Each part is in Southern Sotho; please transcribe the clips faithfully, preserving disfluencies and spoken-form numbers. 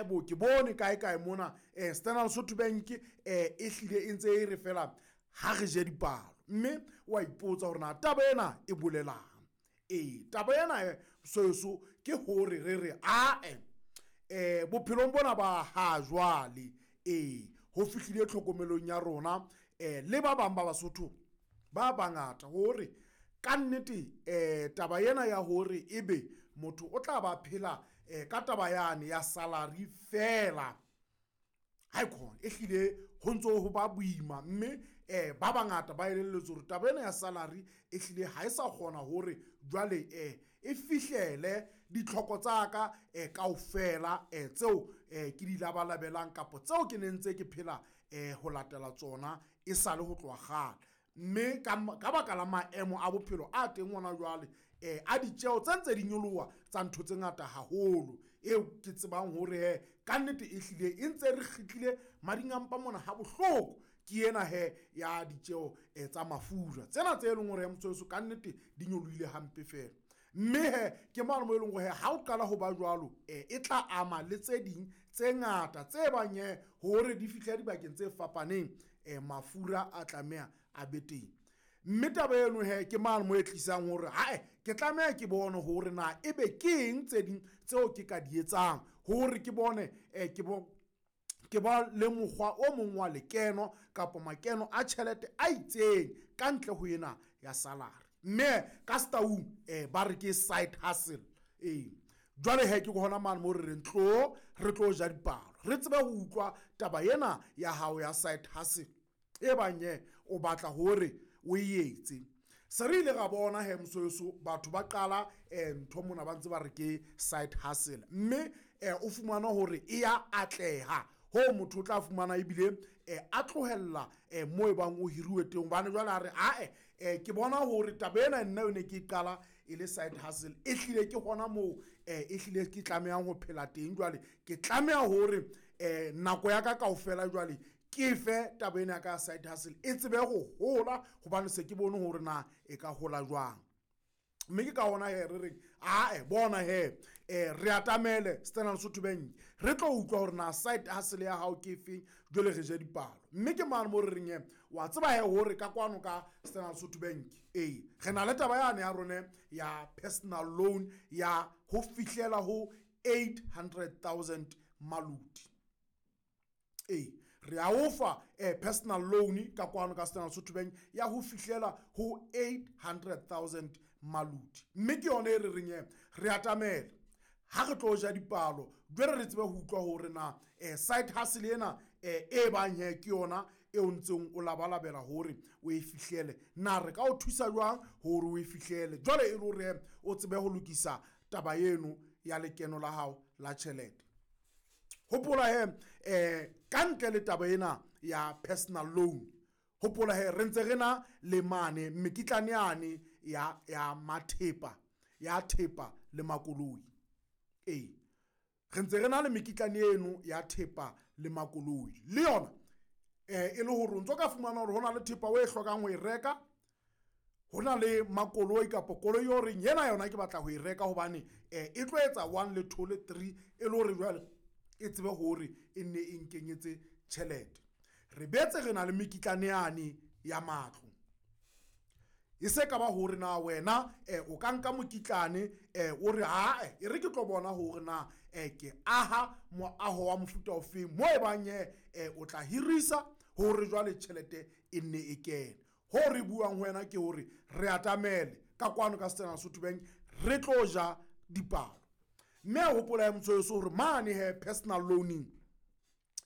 Ae bo, ke bone kae kae mona um Standard Lesotho Bank um e hlile e ntse e re fela ha re je dipalo, mme wa ipotsa hore na taba ena e bolelang. Ee, taba ena soso ke hore re re ae um bophelong bona ba ha jwale, ee, ho fihlile tlhokomelong ya rona um le ba bang ba Basotho ba bangata hore ka nnete um taba ena ya hore ebe motho o tla ba phela um ka taba yane ya salary fela, ha e khona e hlile ho ntso ho ba boima. Mme um ba bangata ba elelletswe hore taba ena ya salary e hlile ha e sa kgona hore jwale um e fihlele ditlhoko tsa ka um kaofela um tseo um ke di labalabelang kapa tseo ke ne ntse ke phela um ho latela tsona e sale ho tloha kgale. Mme ka baka la maemo a bophelo a teng hona jwale, um a ditjeo tse ntse di nyoloha tsa ntho tse ngata haholo, eo ke tsebang hore he ka nnete e hlile e ntse re kgitlile mading a mpa mona ha bohloko, ke ena he ya ditjeo um tsa mafura tsena tse leng hore motho weso ka nnete di nyolohile hampe fela. Mme he ke mane mo e leng hore ha o qala ho ba jwalo, um e tla ama le tse ding tse ngata tse bang he hore di fihle dibakeng tse fapaneng, um mafura a tlameha a be teng. Mme taba eno he ke mane mo e tlisang hore hae ke tlameha ke bone hore na ebe ke eng tse ding tseo ke ka di etsang hore ke bone um ke bo ke ba le mokgwa o mong wa lekeno kapa makeno a tjhelete a itseng ka ntle ho ena ya salary. Mme ka setaung um ba re ke side hustle. Ee, jwale he ke hona mane mo re reng tlo re tlo ja dipalo, re tsebe ho utlwa taba ena ya hao ya side hustle e bang ye o batla hore o e etse. Se re ile ra bona he mosoeso batho ba qala um ntho mona ba ntse ba re ke side hustle, mme um o fumana hore e ya atleha ho motho o tla fumana ebile um a tlohella um mo e bang o hiriwe teng, hobane jwale a re ae um ke bona hore taba ena nna ne ke qala e le side hustle, e hlile ke hona moo um e hlile ke tlamehang ho phela teng. Jwale ke tlameha hore um nako ya ka kaofela jwale ke fe taba ena ya ka side hustle e tsebe ho hola, hobane se ke bone hore na e ka hola jwang. Mme ke ka hona he re reng ae bona he um re atamele Standard Lesotho Bank, re tlo utlwa hore na side hustle ya hao ke efeng, jwale re je dipalo. Mme ke mane mo re reng he wa tseba he hore ka kwano ka Standard Lesotho Bank ee re na le taba yane ya rone ya personal loan ya ho fihlela ho eight hundred thousand maluti. Ee, re a o fa eh, personal loan ka kwano ka Standard Lesotho Bank ya ho fihlela ho eight hundred thousand maluti. Mme ke yona e re reng he re atamele ha re tlo ja dipalo, jwale re tsebe ho utlwa hore na eh, side hustle ena eh, e bang he ke yona e o ntseng o labalabela hore o e fihlele, na re ka o thusa jwang hore o e fihlele, jwale e le hore o tsebe ho lokisa taba eno ya lekeno la hao la tjhelete. Hopola he eh ka ntle le taba ena ya personal loan, hopola he re ntse re na le mane mekitlane yane ya ya mathepa ya thepa le makoloi. Ee, re ntse re na le mekitlane eno ya thepa le makoloi le yona eh e le hore o ntso ka fumana hore hona le thepa o e hlokang ho e reka, hona le makoloi kapa koloi eo reng yena yona ke batla ho e reka hobane eh e tlo etsa one le two le three, e le hore jwale e tsebe hore e nne e nkenyetse tjhelete. Re betse re na le mekitlane yane ya matlo, e se ka ba hore na wena eh, o ka nka mokitlane eh, o re ae e re ke tlo bona hore na eh, ke aha moaho wa mofuta ofeng mo e bang eh, o tla hirisa hore jwale tjhelete e nne e kene. Ho re buang ho wena ke hore re atamele ka kwano ka Standard Lesotho Bank re tlo ja dipalo. Mme a hopola ya motho hore mane he personal loaning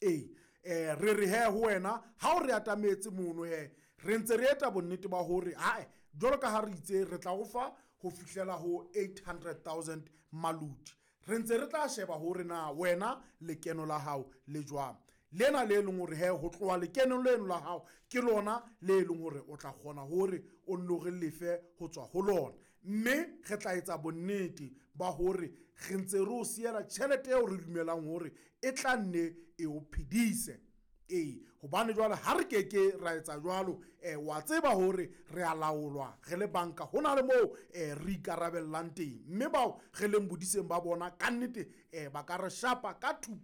ee eh re re he ho wena ha o re atametse mono he re ntse re eta bonnete ba hore hae jwalo ka ha re itse re tla o fa ho fihlela ho eight hundred thousand maluti, re ntse re tla sheba hore na wena lekeno la hao le jwang, lena le leng hore he ho tloha lekenong leno la hao ke lona le leng hore o tla kgona hore o nno re lefe ho tswa ho lona. Mme re tla etsa bonnete ba hore re ntse re o siela tjhelete eo re dumelang hore e tla nne e o phedise. Ee, hobane jwale ha re keke ra etsa jwalo eh wa tseba hore re a laolwa re le banka, ho na le moo eh re ikarabellang teng, mme bao re leng bodiseng ba bona ka nnete eh ba ka re shapa ka thupa.